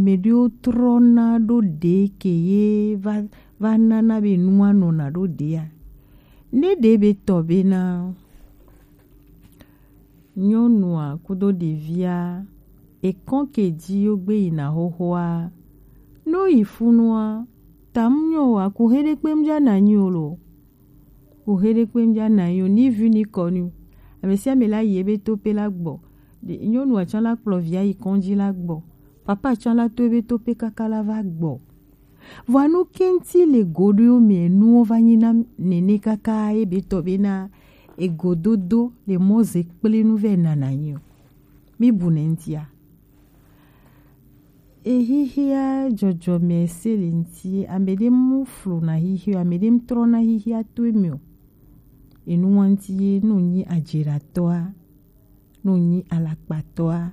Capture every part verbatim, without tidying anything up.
Ame ɖewo trɔna ɖo ɖe ke ye va, va nana be nua nɔna ɖo ɖea. Ne ɖe be tɔ bena nyɔnua kudo ɖevia ekɔn ke dzi yo gbe yina xoxoa, no yi funua, tam nyɔ wa ku he ɖe kpe mja na nyi o lo. Ku he ɖe kpe mja na nyi o, ni vi ni kɔ ni. Ame sia ame la yi ebe to pe la gbɔ. Ɖe-, nyɔnua tsã la kplɔ via yi kɔndzi la gbɔ. Papa tsã la to ebe to pe kaka la va gbɔ. Vɔa nu kɛnti le goɖoewo mɛ nuwo va nyi na nene kaka ebe tɔ bena egododo le mɔ ze kple nu vɛ nana nyi o. Mi bu ne ŋtia? Ehihia dzɔdzɔme se le ŋti, ame ɖe mu flo na hihia, ame ɖe mu trɔ na hihia to eme o. Enu wa ŋti ye, no nyi ajeɖatɔa, no nyi alakpatɔa,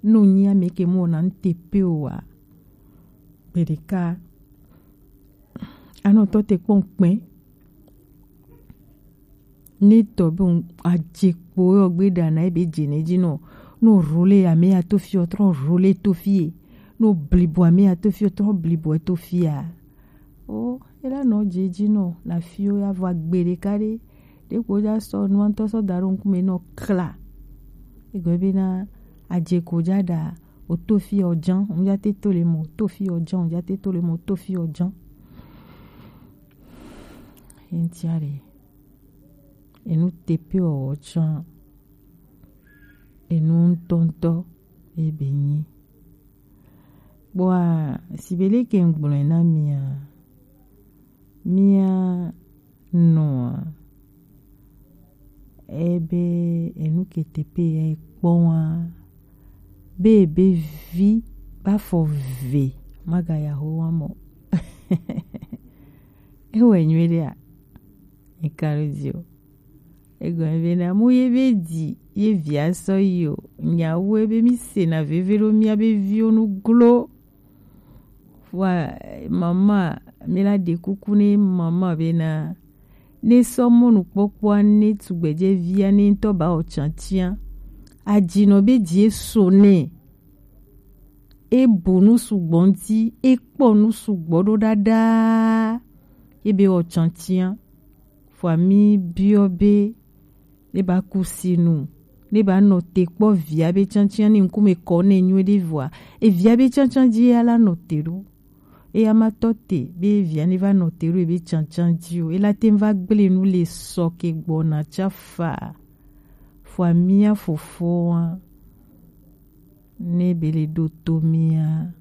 no nyi ame ke mu wɔna nu te pe o wa. Gbeɖeka, anɔ tɔ te kpɔn kpɛ. Ne tɔ be ŋ-, adze kpo yɔ gbe ɖa na ebe dze ne dzi nɔ. No role ame ya to fi o, trɔ role to fi e. No blibo ame ya to fi o, trɔ blibo e to fi a. O, ela nɔ dze dzi nɔ la fi o ya vɔ agbe ɖeka ɖe. Ɖe ko ja sɔ nua ŋtɔ sɔ da ɖo ŋkume nɔ kla. Egbe be na adze ko ja ɖa o to fi o jan, ŋ ja te to le mo, to fi o jan, ŋ ja te to le mo, to fi o jan. Ye ŋtia ɖe, enu tepe wɔwɔ tsã, enu ŋutɔŋutɔ ye be nyi. Kpɔa, sibe leke ŋgblɔe na mia, mia nɔa, ebe enu ke tepe ya kpɔ wa, be ebe vi ba fɔ ve, maga ya ho wa mɔ. Ewɔe nyuie ɖea? Eka ɖo dzi o. Egɔme be na mu ye be dzi ye via sɔ yi o. Nyawu ebe mi se na veve ɖo mia be viwo nu glo. Wa mama, mi la ɖe kuku ne mama be na ne sɔ mɔnukpɔkpɔa ne tugbedze via ne ŋutɔ ba o tsantsia. Adzinɔ be dzi eso ne. E bu nu sugbɔ ŋuti, e kpɔ nu sugbɔ ɖo ɖaɖa, e be wɔ tsantsia. Vɔa mi biɔ be, ne ba ku sinu, ne ba nɔ te kpɔ via be tsantsia ne ŋkume kɔ ne nyuie ɖe vɔa, e via be tsantsia dzi ya la nɔ te ɖo. Eya ma tɔ te be via ne va nɔ te ɖo ebe tsantsia dzi o, ela te va gble nu le sɔ ke gbɔna tsa fa. Vɔa mia fofoa, ne be le ɖo to mia,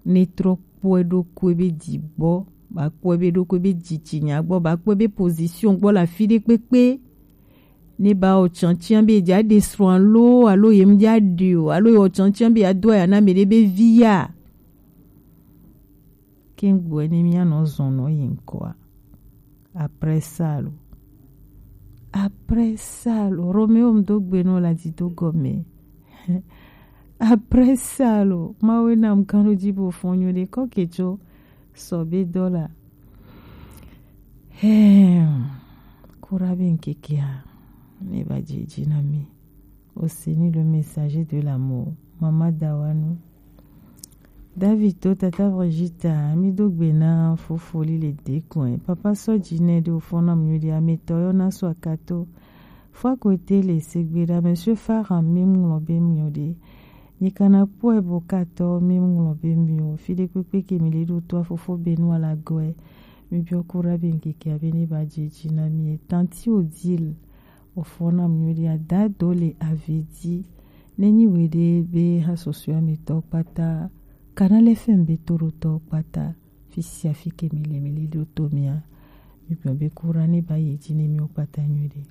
ne trɔ kpɔe ɖokui be dzi gbɔ, ba kpɔe be ɖokui be dzi tsi nya gbɔ, ba kpɔe be position gbɔ le afi ɖe kpekpe. Ne ba o tsantsia be dza ɖe srɔ̃ alo, alo ye mu dza ɖe o, alo ye o tsantsia be ado aya na me ɖe be vi ya. Ke ŋgblɔe ne mia nɔ zɔn nɔ yi ŋkɔa. Après ça lo. Après ça lo. Roméo ŋdo gbe nɔ la dzi do gɔme. Après ça lo. Mawe nam kan lo dzi bo fɔn nyo ɖe kɔ ke tso sɔ be dɔ la. Hem. Kura be ŋkekea. Ne ba dzi dzi na mi. Oseni le messager de l'amour. Mama Dawanu. David to tata Brigitta, mi do gbe na fofoli le dekun. Papa sɔ dzi ne ɖo fɔ na mi ɖe ametɔ yɔ na sɔ akato. Fɔ akote le segbe ɖa, Monsieur Farah, mi ŋlɔ be mi ɖe. Nyi kana kpɔe bo katɔ, mi ŋlɔ be mi o. Fi ɖe kpekpe ke mi le ɖo to fofo be nu ala gɔe. Mi biɔ kura be ŋkekea be ne ba dzi dzi na mi. Tanti Odile. Ofo na mi ɖi adado le avedi. Ne nyi we ɖe be ha sɔsɔe mi tɔ kpata. Kanale fɛn be to ɖo tɔ kpata. Fi sia fi ke mi le mi li ɖo to mia. Mi gbɔn be kura ne ba yi dzi ne mi o kpata nyuie ɖe.